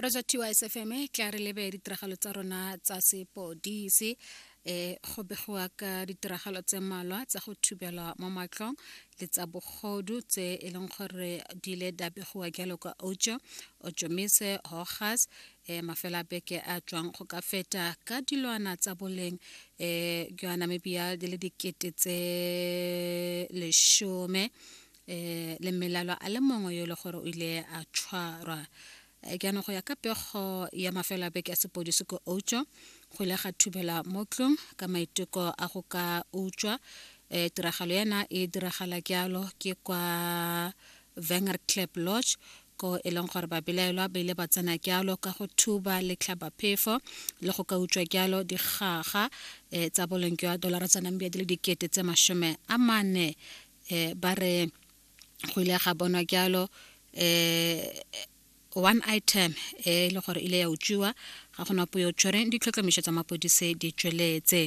Rosa TYSFM tla re lebe ditiragalo tsa rona tsa sepodisi e go begiwa ka ditiragalo tse mmalwa tsa go thubelwa mo matlong le tsa bogodu tse e leng gore di ile di a begiwa jalo kwa Outjo, Otjomise, Hogas e mafelo a beke a tswang go ka feta ka dilwana tsa boleng e jwa Namibia di le dikete tse lesome e le mmelelwa a le mongwe yo e le gore o ile a tshwarwa Eh, jaanong go ya ka pego ya mafelo a beke a sepodisi ko Outjo go ile ga thubelwa mo tlong ka maiteko a go ka utswa um tiragalo ena e diragala jalo ke kwa Wenger Club Lodge ko e leng gore babelaelwa ba ile ba tsena jalo ka go thuba letlhabaphefo le go ka utswa jalo digaga um tsa boleng jwa dolara tsa Namibia di le dikete tse masome a mane um ba re go ile ga bonwa jalo um one item e le gore ile ya utswiwa ga gona puo tshwereng ditlhotlhomišo tsa mapodise di tsweletse.